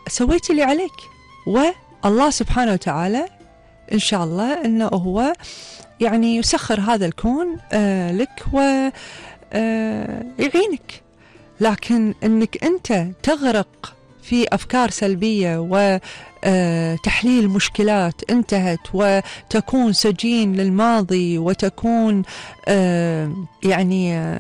سويت اللي عليك، والله سبحانه وتعالى إن شاء الله أنه هو يعني يسخر هذا الكون لك ويعينك. لكن أنك أنت تغرق في أفكار سلبية وتحليل مشكلات انتهت، وتكون سجين للماضي، وتكون يعني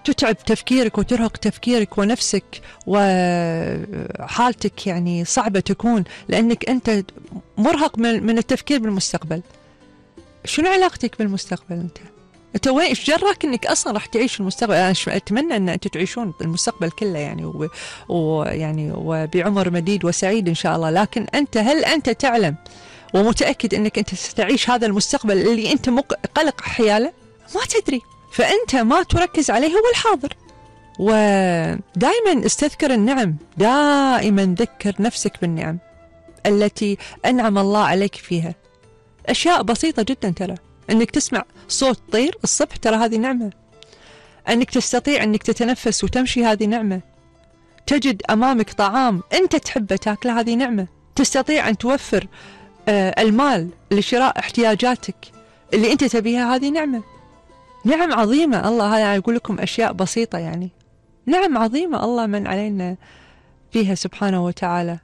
تتعب تفكيرك وترهق تفكيرك ونفسك، وحالتك يعني صعبة تكون لأنك أنت مرهق من التفكير بالمستقبل. شنو علاقتك بالمستقبل؟ انت وين ايش جرك انك اصلا راح تعيش المستقبل؟ انا اتمنى ان انتم تعيشون المستقبل كله يعني ويعني وبعمر مديد وسعيد ان شاء الله. لكن انت هل انت تعلم ومتاكد انك انت ستعيش هذا المستقبل اللي انت قلق حياله؟ ما تدري. فانت ما تركز عليه هو الحاضر. ودائما استذكر النعم، دائما ذكر نفسك بالنعم التي انعم الله عليك فيها. اشياء بسيطه جدا، ترى انك تسمع صوت طير الصبح ترى هذه نعمة، انك تستطيع انك تتنفس وتمشي هذه نعمة، تجد امامك طعام انت تحبه تاكله هذه نعمة، تستطيع ان توفر المال لشراء احتياجاتك اللي انت تبيها هذه نعمة. نعم عظيمة الله، هذا اقول لكم اشياء بسيطة يعني، نعم عظيمة الله من علينا فيها سبحانه وتعالى.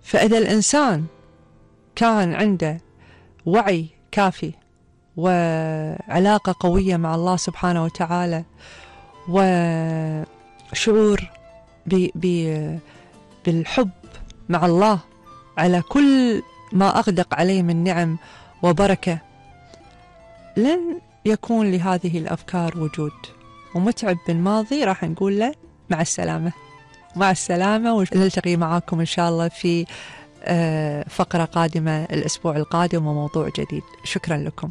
فاذا الانسان كان عنده وعي كافي وعلاقة قوية مع الله سبحانه وتعالى، وشعور بالحب مع الله على كل ما أغدق عليه من نعم وبركة، لن يكون لهذه الأفكار وجود. ومتعب بالماضي راح نقول له مع السلامة، مع السلامة، ونلتقي معاكم إن شاء الله في فقرة قادمة الأسبوع القادم وموضوع جديد. شكرا لكم.